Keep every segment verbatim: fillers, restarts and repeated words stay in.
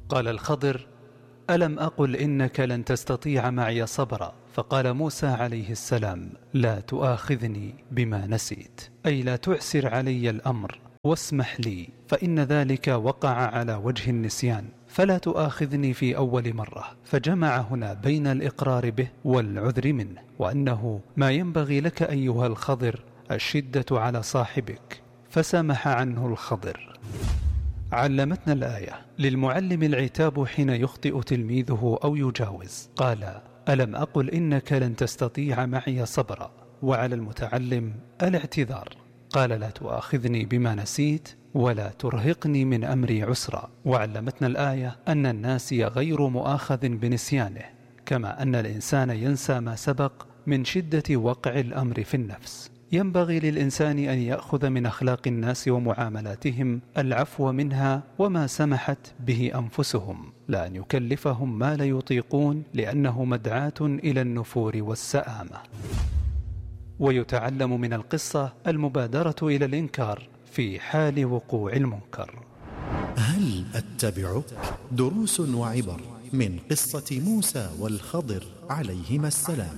قال الخضر: ألم أقل إنك لن تستطيع معي صبرا؟ فقال موسى عليه السلام: لا تؤاخذني بما نسيت، أي لا تعسر علي الأمر واسمح لي، فإن ذلك وقع على وجه النسيان، فلا تؤاخذني في أول مرة. فجمع هنا بين الإقرار به والعذر منه، وأنه ما ينبغي لك أيها الخضر الشدة على صاحبك، فسمح عنه الخضر. علمتنا الآية: للمعلم العتاب حين يخطئ تلميذه أو يجاوز. قال: ألم أقل إنك لن تستطيع معي صبرا، وعلى المتعلم الاعتذار. قال: لا تؤاخذني بما نسيت ولا ترهقني من أمري عسرا. وعلمتنا الآية أن الناسي غير مؤاخذ بنسيانه، كما أن الإنسان ينسى ما سبق من شدة وقع الأمر في النفس. ينبغي للإنسان أن يأخذ من أخلاق الناس ومعاملاتهم العفو منها وما سمحت به أنفسهم، لا أن يكلفهم ما لا يطيقون، لأنه مدعاة إلى النفور والسآمة. ويتعلم من القصة المبادرة إلى الإنكار في حال وقوع المنكر. هل أتبعك؟ دروس وعبر من قصة موسى والخضر عليهما السلام.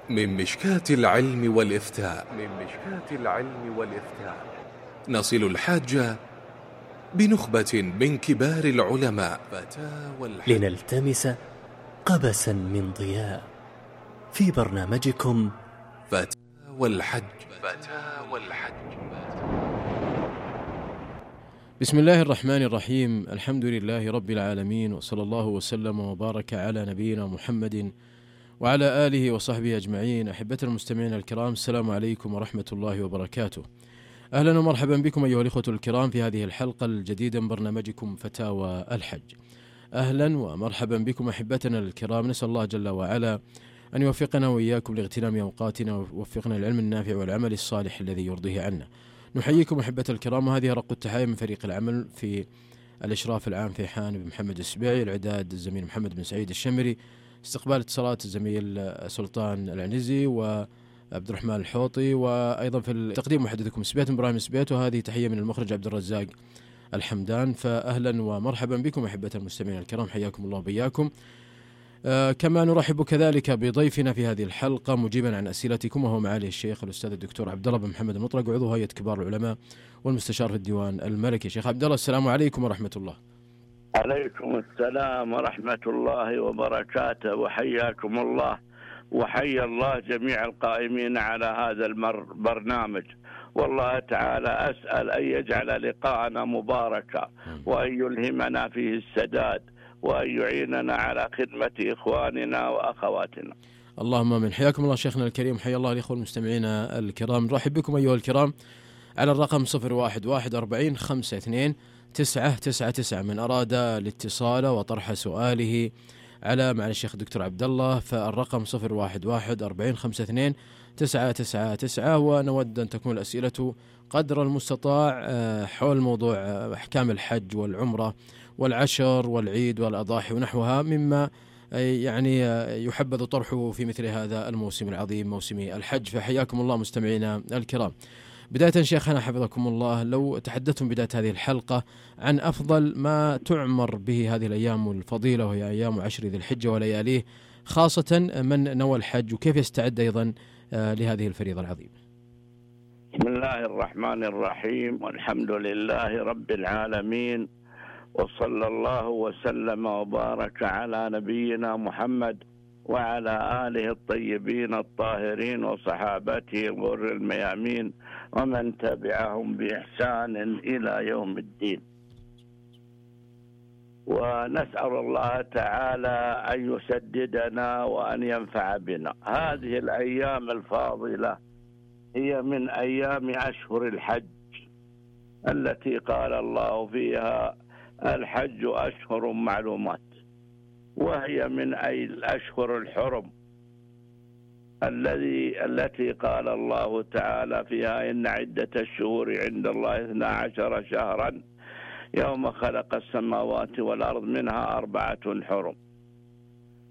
من مشكاة العلم والإفتاء من مشكاة العلم والإفتاء نصل الحاجة بنخبة من كبار العلماء لنلتمس قبسا من ضياء في برنامجكم فتاوى الحج. فتاوى الحج. بسم الله الرحمن الرحيم. الحمد لله رب العالمين، وصلى الله وسلم وبارك على نبينا محمد وعلى آله وصحبه أجمعين. أحبة المستمعين الكرام، السلام عليكم ورحمة الله وبركاته. أهلا ومرحبا بكم أيها الإخوة الكرام في هذه الحلقة الجديدة من برنامجكم فتاوى الحج. أهلا ومرحبا بكم أحبتنا الكرام. نسأل الله جل وعلا أن يوفقنا وإياكم لاغتنام أوقاتنا، ويوفقنا العلم النافع والعمل الصالح الذي يرضيه عنا. نحييكم أحبة الكرام، وهذه رق التحايا من فريق العمل في الإشراف العام في حان بن محمد السبيعي، الإعداد الزميل محمد بن سعيد الشمري، استقبال اتصالات الزميل سلطان العنزي وعبد الرحمن الحوطي، وأيضا في التقديم محدثكم سبيت إبراهيم سبيت، وهذه تحية من المخرج عبد الرزاق الحمدان. فأهلا ومرحبا بكم أحبة المستمعين الكرام، حياكم الله وبياكم. آه كما نرحب كذلك بضيفنا في هذه الحلقة مجيبا عن أسئلتكم، وهو معالي الشيخ الأستاذ الدكتور عبد الله بن محمد المطرق، وعضو هيئة كبار العلماء والمستشار في الديوان الملكي. شيخ عبد الله، السلام عليكم ورحمة الله. عليكم السلام ورحمة الله وبركاته، وحياكم الله، وحيا الله جميع القائمين على هذا البرنامج. والله تعالى أسأل أن يجعل لقاءنا مباركا، وأن يلهمنا فيه السداد، وأن يعيننا على خدمة إخواننا وأخواتنا. اللهم من حياكم الله شيخنا الكريم، حيا الله الإخوة المستمعين الكرام. نرحب بكم أيها الكرام على الرقم صفر واحد واحد أربعين خمسة اثنين تسعة تسعة تسعة. من أراد الاتصال وطرح سؤاله على مع الشيخ الدكتور عبد الله، فالرقم صفر واحد واحد أربعين خمسة اثنين تسعة تسعة تسعة. ونود أن تكون الأسئلة قدر المستطاع حول موضوع أحكام الحج والعمرة والعشر والعيد والأضاحي ونحوها، مما يعني يحبذ طرحه في مثل هذا الموسم العظيم، موسم الحج. فحياكم الله مستمعينا الكرام. بداية شيخنا حفظكم الله، لو تحدثتم بداية هذه الحلقة عن أفضل ما تعمر به هذه الأيام الفضيلة، وهي أيام عشر ذي الحجة ولياليه، خاصة من نوى الحج، وكيف يستعد أيضا لهذه الفريضة العظيمة. بسم الله الرحمن الرحيم، والحمد لله رب العالمين، وصلى الله وسلم وبارك على نبينا محمد وعلى آله الطيبين الطاهرين وصحابته الغر الميامين ومن تبعهم بإحسان إلى يوم الدين. ونسأل الله تعالى أن يسددنا وأن ينفع بنا. هذه الأيام الفاضلة هي من أيام أشهر الحج التي قال الله فيها الحج أشهر معلومات، وهي من أي الأشهر الحرم الذي التي قال الله تعالى فيها إن عدة الشهور عند الله اثنا عشر شهرا يوم خلق السماوات والأرض منها أربعة حرم.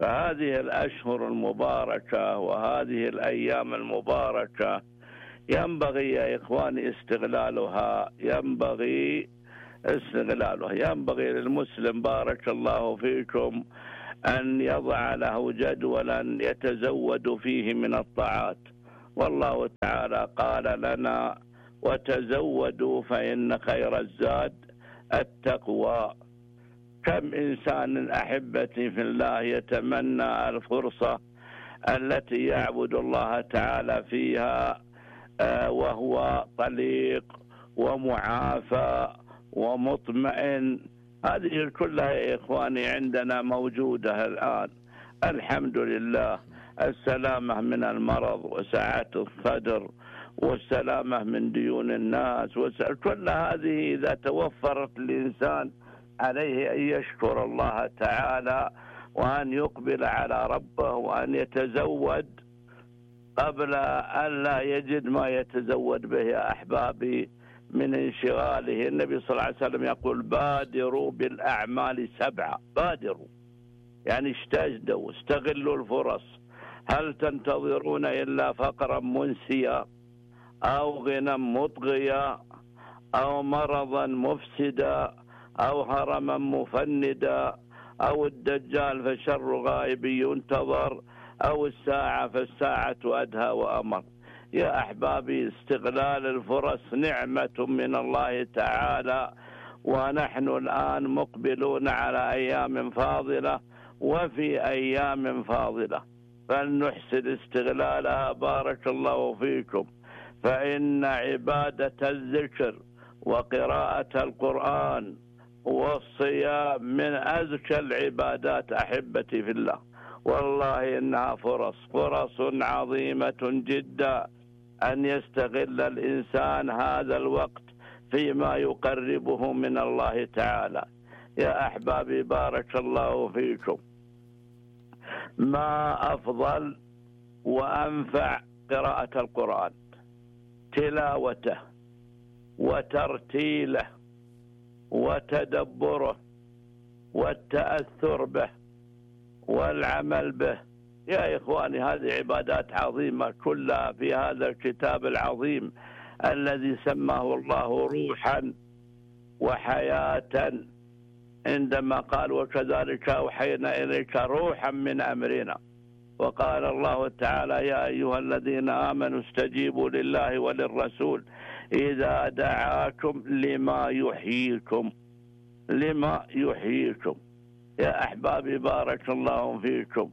فهذه الأشهر المباركة وهذه الأيام المباركة ينبغي يا إخواني استغلالها، ينبغي استغلالها، ينبغي للمسلم بارك الله فيكم أن يضع له جدولا يتزود فيه من الطاعات. والله تعالى قال لنا وتزودوا فإن خير الزاد التقوى. كم إنسان أحبتي في الله يتمنى الفرصة التي يعبد الله تعالى فيها وهو طليق ومعافى ومطمئن. هذه كلها يا إخواني عندنا موجودة الآن الحمد لله. السلامة من المرض وسعة الصدر والسلامة من ديون الناس، كل هذه إذا توفرت الإنسان عليه أن يشكر الله تعالى وأن يقبل على ربه وأن يتزود قبل أن لا يجد ما يتزود به يا أحبابي من انشغاله. النبي صلى الله عليه وسلم يقول بادروا بالأعمال سبعة، بادروا يعني استجدوا، استغلوا الفرص. هل تنتظرون إلا فقرا منسيا أو غنى مطغيا أو مرضا مفسدا أو هرما مفندا أو الدجال فشر غائب ينتظر أو الساعة فالساعة أدهى وأمر؟ يا أحبابي استغلال الفرص نعمة من الله تعالى، ونحن الآن مقبلون على أيام فاضلة وفي أيام فاضلة، فلنحسن استغلالها بارك الله فيكم. فإن عبادة الذكر وقراءة القرآن والصيام من أزكى العبادات أحبتي في الله، والله إنها فرص فرص عظيمة جدا أن يستغل الإنسان هذا الوقت فيما يقربه من الله تعالى. يا أحبابي بارك الله فيكم، ما أفضل وأنفع قراءة القرآن، تلاوته وترتيله وتدبره والتأثر به والعمل به. يا إخواني هذه عبادات عظيمة كلها في هذا الكتاب العظيم الذي سماه الله روحا وحياة، عندما قال وكذلك أوحينا إليك روحا من أمرنا. وقال الله تعالى يا أيها الذين آمنوا استجيبوا لله وللرسول إذا دعاكم لما يحييكم، لما يحييكم. يا أحبابي بارك الله فيكم،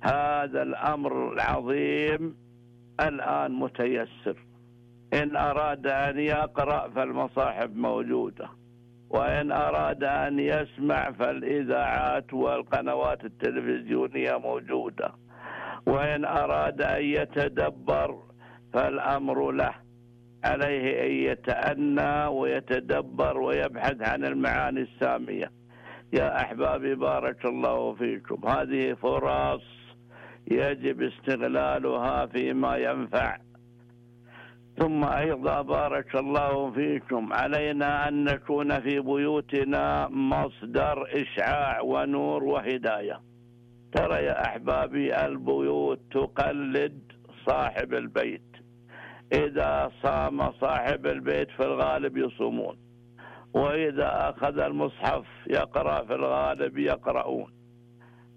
هذا الأمر العظيم الآن متيسر. إن أراد أن يقرأ فالمصاحف موجودة، وإن أراد أن يسمع فالإذاعات والقنوات التلفزيونية موجودة، وإن أراد أن يتدبر فالأمر له، عليه أن يتأنى ويتدبر ويبحث عن المعاني السامية. يا أحبابي بارك الله فيكم، هذه فرص يجب استغلالها فيما ينفع. ثم أيضا بارك الله فيكم علينا أن نكون في بيوتنا مصدر إشعاع ونور وهداية. ترى يا أحبابي البيوت تقلد صاحب البيت، إذا صام صاحب البيت في الغالب يصومون، وإذا أخذ المصحف يقرأ في الغالب يقرؤون،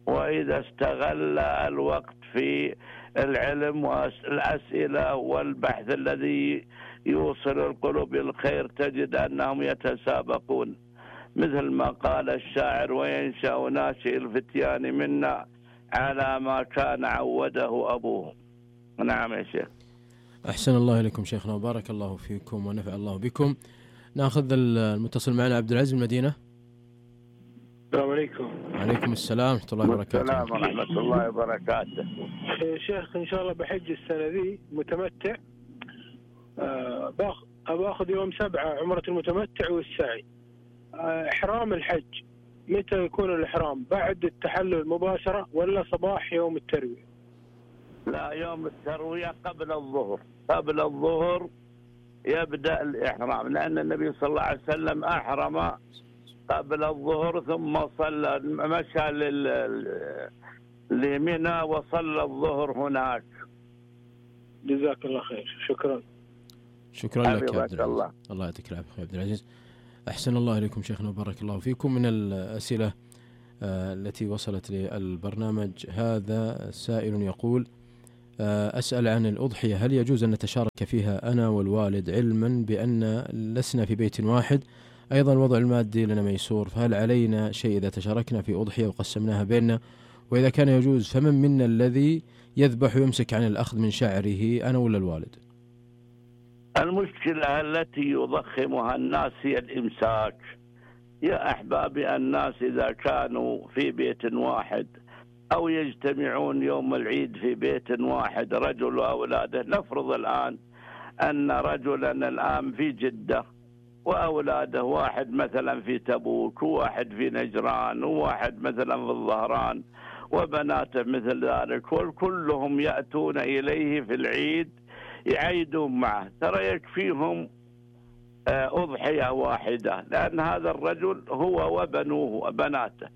وإذا استغل الوقت في العلم والأسئلة والبحث الذي يوصل القلوب للخير تجد أنهم يتسابقون، مثل ما قال الشاعر وينشأ ناشئ الفتيان منا على ما كان عوده أبوهم. نعم يا شيخ. أحسن الله إليكم شيخنا وبارك الله فيكم ونفع الله بكم. نأخذ المتصل معنا عبد العزيز المدينة. السلام عليكم. وعليكم السلام ورحمة الله وبركاته. السلام ورحمة الله وبركاته. يا شيخ إن شاء الله بحج السنة ذي متمتع، أه باخذ يوم سبعة عمرة المتمتع والسعي. أه إحرام الحج متى يكون الإحرام؟ بعد التحلل مباشرة ولا صباح يوم التروية؟ لا، يوم التروية قبل الظهر، قبل الظهر يبدأ الإحرام، لأن النبي صلى الله عليه وسلم أحرم قبل الظهر ثم صلى مشى لمنى وصلى الظهر هناك. جزاك الله خير، شكرا. شكرا لك يا عبد العزيز. الله, الله يعطيك العافية يا عبد العزيز. أحسن الله إليكم شيخنا وبارك الله فيكم. من الأسئلة آه التي وصلت للبرنامج هذا سائل يقول آه أسأل عن الأضحية، هل يجوز أن نتشارك فيها أنا والوالد علما بأن لسنا في بيت واحد؟ أيضا الوضع المادي لنا ميسور، فهل علينا شيء إذا تشاركنا في أضحية وقسمناها بيننا؟ وإذا كان يجوز فمن منا الذي يذبح ويمسك عن الأخذ من شعره، أنا ولا الوالد؟ المشكلة التي يضخمها الناس هي الإمساك. يا أحبابي، الناس إذا كانوا في بيت واحد أو يجتمعون يوم العيد في بيت واحد رجل وأولاده، نفرض الآن أن رجلا الآن في جدة وأولاده، واحد مثلا في تبوك وواحد في نجران وواحد مثلا في الظهران وبناته مثل ذلك، وكلهم يأتون إليه في العيد يعيدون معه، ترى يكفيهم أضحية واحدة، لأن هذا الرجل هو وبنوه وبناته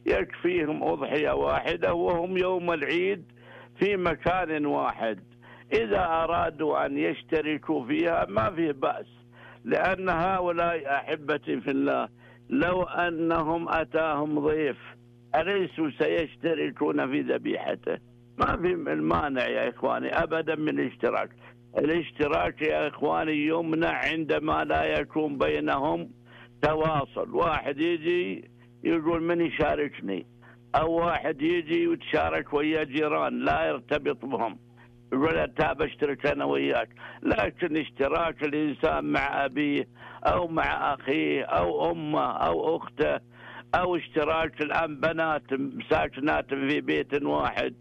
يكفيهم أضحية واحدة وهم يوم العيد في مكان واحد. إذا أرادوا أن يشتركوا فيها ما فيه بأس، لأن هؤلاء أحبتي في الله لو أنهم أتاهم ضيف أليسوا سيشتركون في ذبيحته؟ ما في المانع يا إخواني أبدا من الاشتراك. الاشتراك يا إخواني يمنع عندما لا يكون بينهم تواصل، واحد يجي يقول من يشاركني، أو واحد يجي ويتشارك ويا جيران لا يرتبط بهم يقول تعال اشترك أنا وياك. لكن اشتراك الإنسان مع أبيه أو مع أخيه أو أمه أو أخته، أو اشتراك الآن بنات ساكنات في بيت واحد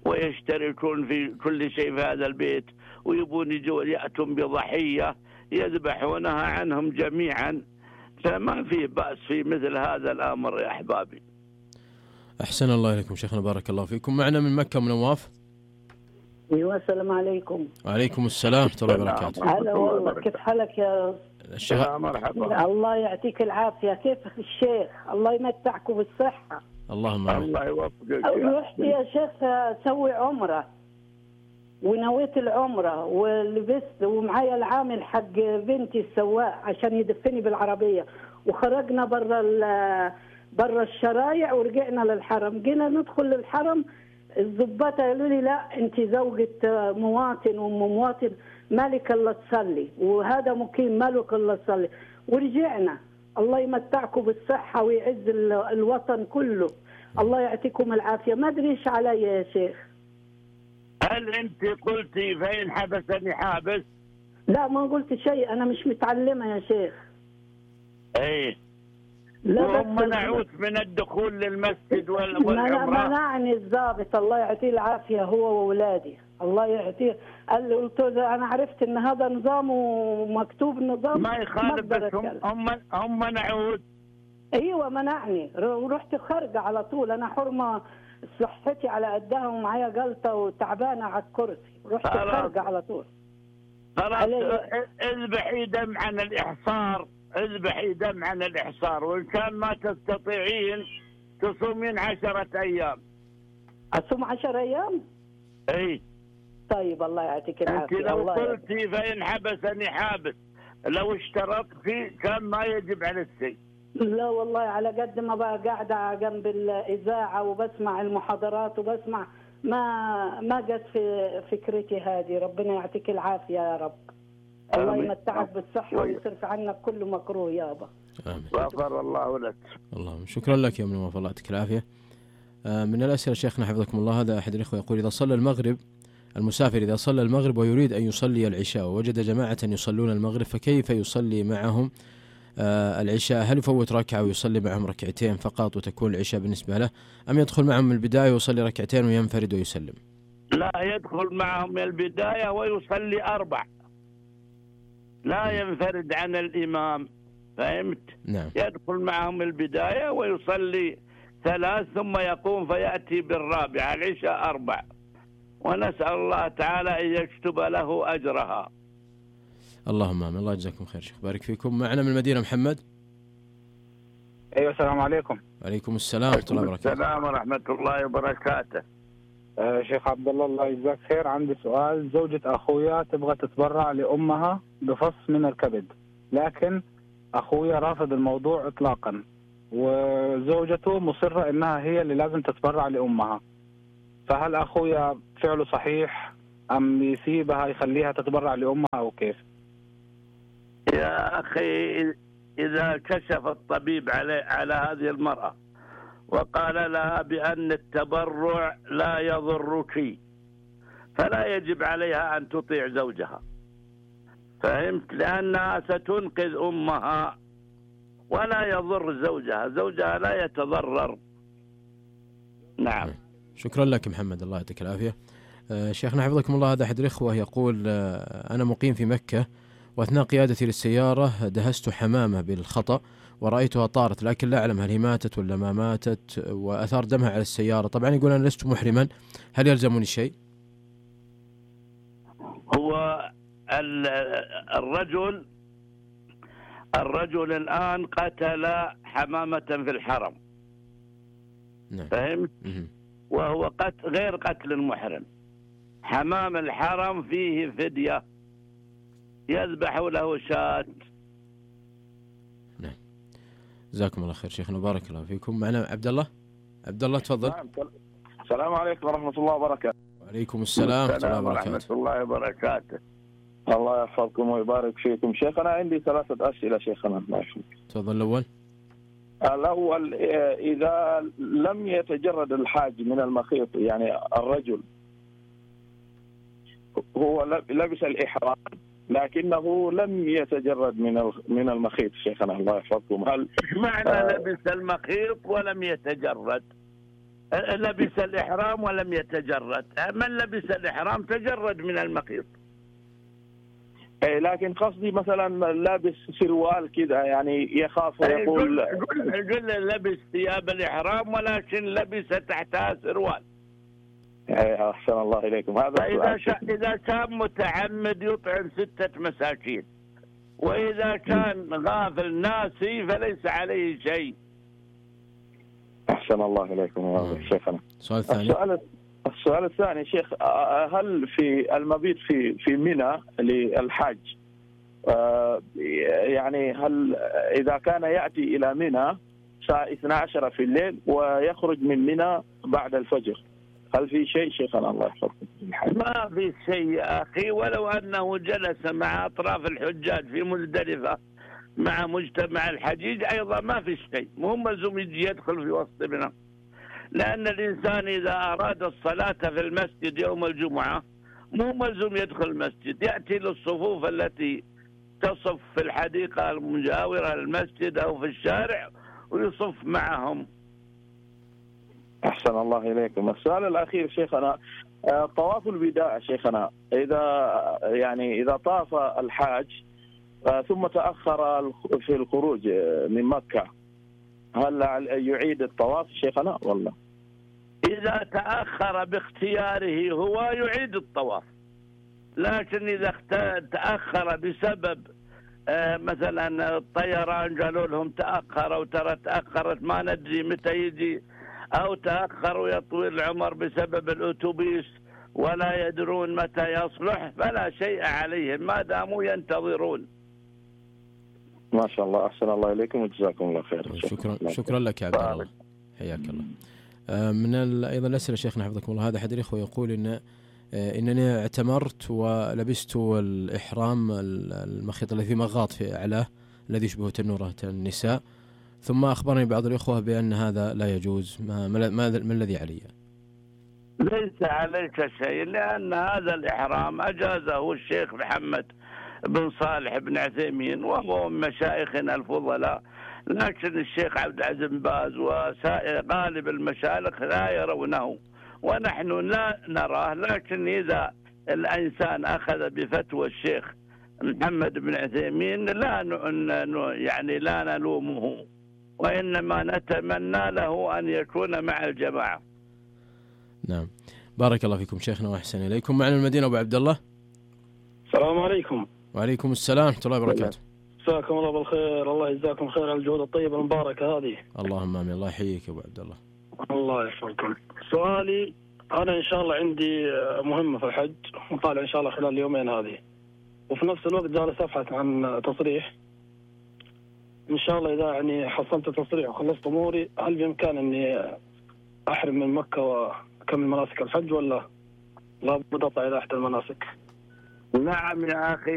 ويشتركون في كل شيء في هذا البيت ويبون يجوا يأتون بضحية يذبحونها عنهم جميعا، فما في بأس في مثل هذا الأمر يا أحبابي. أحسن الله إليكم شيخنا بارك الله فيكم. معنا من مكة من نواف. ايوه السلام عليكم. وعليكم السلام ورحمة الله وبركاته. هلا والله، كيف حالك يا الشيخ؟ مرحبا. الله يعطيك العافية، كيف الشيخ؟ الله يمتعكم بالصحة. اللهم الله يوفقك. رحت يا شيخ اسوي عمرة ونويت العمرة ولبست ومعايا العامل حق بنتي السواق عشان يدفني بالعربية، وخرجنا برا برا الشرايع ورجعنا للحرم. جينا ندخل للحرم الضباط قالوا لي لا انت زوجة مواطن وام مواطن مالك الا تصلي، وهذا مقيم مالك الا تصلي. ورجعنا. الله يمتعكم بالصحة ويعز الوطن كله. الله يعطيكم العافية. ما ادري ايش علي يا شيخ. هل انت قلتي فإن حبسني حابس؟ لا ما قلت شيء، انا مش متعلمة يا شيخ. ايه وهم منعوت من الدخول للمسجد والعمرة. منعني الضابط الله يعطيه العافية هو وولادي الله يعطيه. قال لي قلت له انا عرفت ان هذا نظام ومكتوب نظام ما يخالف، بس هم هم هم منعوت. ايوه منعني ورحت خارجه على طول. انا حرمه صحتي على قدها ومعايا جلطه وتعبانه على الكرسي، رحت خارجه على طول. خلاص اذبحي دم عن الاحصار، اذبحي دم عن الإحصار، وإن كان ما تستطيعين تصومين عشرة أيام. أصوم عشرة أيام؟ إيه. طيب الله يعطيك العافية. أنت لو قلتي فإن حبسني حابس، لو اشترطتي كان ما يجب على الشيء. لا والله على قد ما بقى قاعدة جنب الإذاعة وبسمع المحاضرات وبسمع ما ما جت في فكرتي هذه. ربنا يعطيك العافية يا رب. الله يمتعك بالصحة ويصرف عنك كل مكروه يابا. آمين. غفر الله لك. اللهم شكرا لك يا من وفاء الله يعطيك العافية. من الأسئلة شيخنا حفظكم الله، هذا أحد الإخوة يقول إذا صلى المغرب المسافر إذا صلى المغرب ويريد أن يصلي العشاء ووجد جماعة يصلون المغرب فكيف يصلي معهم العشاء؟ هل يفوت ركعة ويصلي معهم ركعتين فقط وتكون العشاء بالنسبة له، أم يدخل معهم من البداية ويصلي ركعتين وينفرد ويسلم؟ لا، يدخل معهم من البداية ويصلي أربع، لا ينفرد عن الإمام. فهمت؟ نعم. يدخل معهم البداية ويصلي ثلاث ثم يقوم فيأتي بالرابعة، العشاء أربع، ونسأل الله تعالى أن يكتب له أجرها. اللهم آمين. الله يجزاكم خير شيخ بارك فيكم. معنا من المدينة محمد. أيوة السلام عليكم. وعليكم السلام ورحمة الله وبركاته. السلام ورحمة الله وبركاته. آه شيخ عبد الله الله يجزاك خير، عندي سؤال. زوجة أخويا تبغى تتبرع لأمها بفص من الكبد، لكن أخويا رافض الموضوع إطلاقا، وزوجته مصرة إنها هي اللي لازم تتبرع لأمها، فهل أخويا فعله صحيح أم يسيبها يخليها تتبرع لأمها أو كيف؟ يا أخي إذا كشف الطبيب على على هذه المرأة وقال لها بأن التبرع لا يضرك، فلا يجب عليها أن تطيع زوجها، فهمت؟ لأنها ستنقذ أمها ولا يضر زوجها، زوجها لا يتضرر. نعم. شكرا لك محمد، الله يعطيك العافية. آه شيخنا حفظكم الله، هذا أحد الإخوة يقول آه أنا مقيم في مكة، وأثناء قيادتي للسيارة دهست حمامة بالخطأ ورأيتها طارت، لكن لا أعلم هل هي ماتت ولا ما ماتت، وأثار دمها على السيارة. طبعا يقول أنا لست محرما، هل يلزمني شيء؟ هو الرجل الرجل الآن قتل حمامة في الحرم. نعم. فهمت؟ مه. وهو قتل غير قتل المحرم. حمام الحرم فيه فدية، يذبح له شاة. نعم. جزاكم الله خير شيخنا، بارك الله فيكم. معنا عبد الله. عبد الله تفضل. نعم. السلام عليكم ورحمة الله وبركاته. وعليكم السلام ورحمة الله وبركاته. ورحمة الله وبركاته. الله يحفظكم ويبارك فيكم. شيخنا عندي ثلاثة أسئلة شيخنا. الله يحفظك. تفضل. الأول الأول إذا لم يتجرد الحاج من المخيط، يعني الرجل هو لبس الإحرام لكنه لم يتجرد من من المخيط شيخنا الله يحفظكم، هل معنى آه لبس المخيط ولم يتجرد؟ لبس الإحرام ولم يتجرد، من لبس الإحرام تجرد من المخيط. لكن قصدي مثلا لابس سروال كذا يعني يخاف ويقول قل لبس ثياب الإحرام ولكن لبس تحتها سروال. أحسن الله إليكم. هذا إذا إذا كان متعمد يطعم ستة مساكين، وإذا كان غافل ناسي فليس عليه شيء. أحسن الله إليكم شيخنا. السؤال الثاني. السؤال السؤال الثاني شيخ، هل في المبيت في في منى للحاج يعني هل إذا كان يأتي إلى منى الساعة اثنتي عشرة في الليل ويخرج من منى بعد الفجر، هل في شيء شيخنا الله يحفظكم؟ ما في شيء يا أخي، ولو أنه جلس مع أطراف الحجاج في مزدلفة مع مجتمع الحجيج أيضا ما في شيء، مو ملزوم يجي يدخل في وسط منى، لأن الإنسان إذا أراد الصلاة في المسجد يوم الجمعة مو ملزوم يدخل المسجد، يأتي للصفوف التي تصف في الحديقة المجاورة للمسجد أو في الشارع ويصف معهم. أحسن الله إليكم. السؤال الأخير شيخنا، طواف الوداع شيخنا، إذا يعني إذا طاف الحاج ثم تأخر في الخروج من مكة هل يعيد الطواف شيخنا والله؟ إذا تأخر باختياره هو يعيد الطواف، لكن إذا تأخر بسبب آه مثلا الطيران قالوا لهم تأخر أو ترى تأخرت ما ندري متى يجي، أو تأخروا يطوي العمر بسبب الأتوبيس ولا يدرون متى يصلح، فلا شيء عليهم ما داموا ينتظرون. ما شاء الله. أحسن الله إليكم وجزاكم الله خير. شكرا شكرا لك يا عبد الله، حياك الله. من أيضا الأسئلة شيخنا حفظكم الله، هذا أحد الإخوة يقول إن إنني اعتمرت ولبست الإحرام المخيط الذي مغاط في أعلاه الذي يشبه تنورة النساء، ثم أخبرني بعض الإخوة بأن هذا لا يجوز، ما, ما, ما الذي علي؟ ليس عليك شيء، لأن هذا الإحرام أجازه الشيخ محمد بن صالح بن عثيمين وهو من مشايخنا الفضلاء، لكن الشيخ عبد العزيز بن باز وسائر غالب المشايخ لا يرونه ونحن لا نراه، لكن إذا الإنسان أخذ بفتوى الشيخ محمد بن عثيمين لا يعني لا نلومه، وإنما نتمنى له أن يكون مع الجماعة. نعم، بارك الله فيكم شيخنا وأحسن إليكم. معنا المدينة أبو عبد الله. السلام عليكم. وعليكم السلام ورحمة الله وبركاته. مساكم الله بالخير، الله يجزاكم خير على الجهود الطيبة المباركة هذه. اللهم آمين. الله يحييك يا أبو عبد الله. الله يحفظكم. سؤالي أنا إن شاء الله عندي مهمة في الحج وطالع إن شاء الله خلال اليومين هذه، وفي نفس الوقت جالس أبحث عن تصريح. إن شاء الله إذا يعني حصلت تصريح وخلصت أموري، هل بإمكان إني أحرم من مكة وأكمل مناسك الحج، ولا لابد أطلع إلى أحد المناسك؟ نعم يا أخي،